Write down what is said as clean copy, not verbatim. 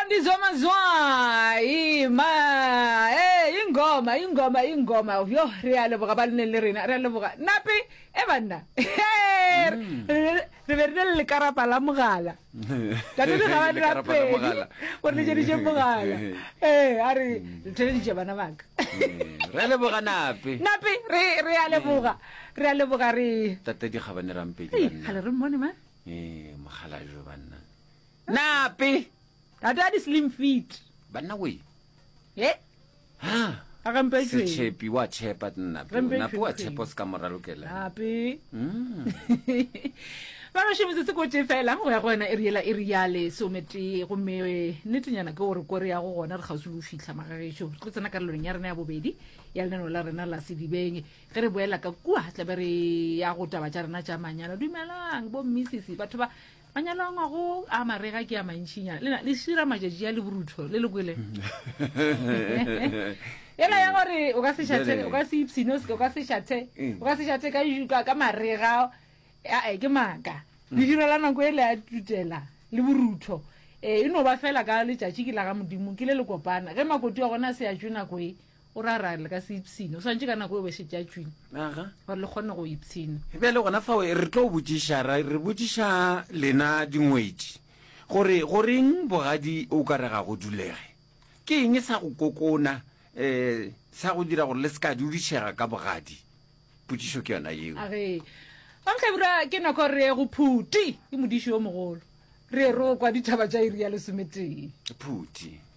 Thandiswa Mazwai ma eh ingoma ingoma ingoma yo re a leboga ba le neng le rena re a leboga nape e banna mm. re be re le lekarapa la mogala tate di ga ba dira pedi o re letšeditše mogala ee a re mm. theleditše bana baka mm. re leboga nape nape re re a leboga re a leboga re tate di ga bane rampedi banna gale re mmone man ee mogala jo banna Nape! Tate a di slim fit. Banna we. Ye. Ha. A gampe tšweng. Setšhepi wa tšhepa Nape. Gampe Nape wa tšweng. tšhepa o se ka mo ralokela. Nape. Mm. Ba gešo metsotso ko tee fela go ya go yona iri yela iri ya lesometee gomme eh, nnetenyana ke gore ko re yago gona re kgauswi le go fihla magagešo re tlo tsena karolong ya rena ya bobedi ya lenaneo la rena la sedibeng ge re boela ka kua tlabe re ya go taba tša rena tša manyalo dumelang bo mmisisi batho ba Manyalo a ngwago a marega ke a mantšinyana. Lena le šira matšatši a le borutho le le kwele. Yela ya gore o ka se šathe, o ka se ipshine, o ka se šathe, o ka se šathe ka ka, ka marega. Ae ke maaka. Le dira la nako e le a tutela le borutho. E, e no ba fela ka letšatši ke la ga Modimo, ke le le kopana. Ge makoti wa gona a se a tšwe nako e, O ra ra le ka se ipshine. O swantše ka nako e be šetše a tšwile. Aga. Gore le kgone go ipshina. Bjale gona fao re tlo botšiša, ra re botšiša lena dingwetši gore goreng bogadi o ka re ga go dulege. Ke eng sa go kokona um sa go dira gore le se ka dudišega ka bogadi? Potšišo ke yona yeo. Age. Mamhlabura ke nako re ye go Phuti, ke modiši yo mogolo. Re ye ro kwa ditaba tša iri ya lesometee. Phuti.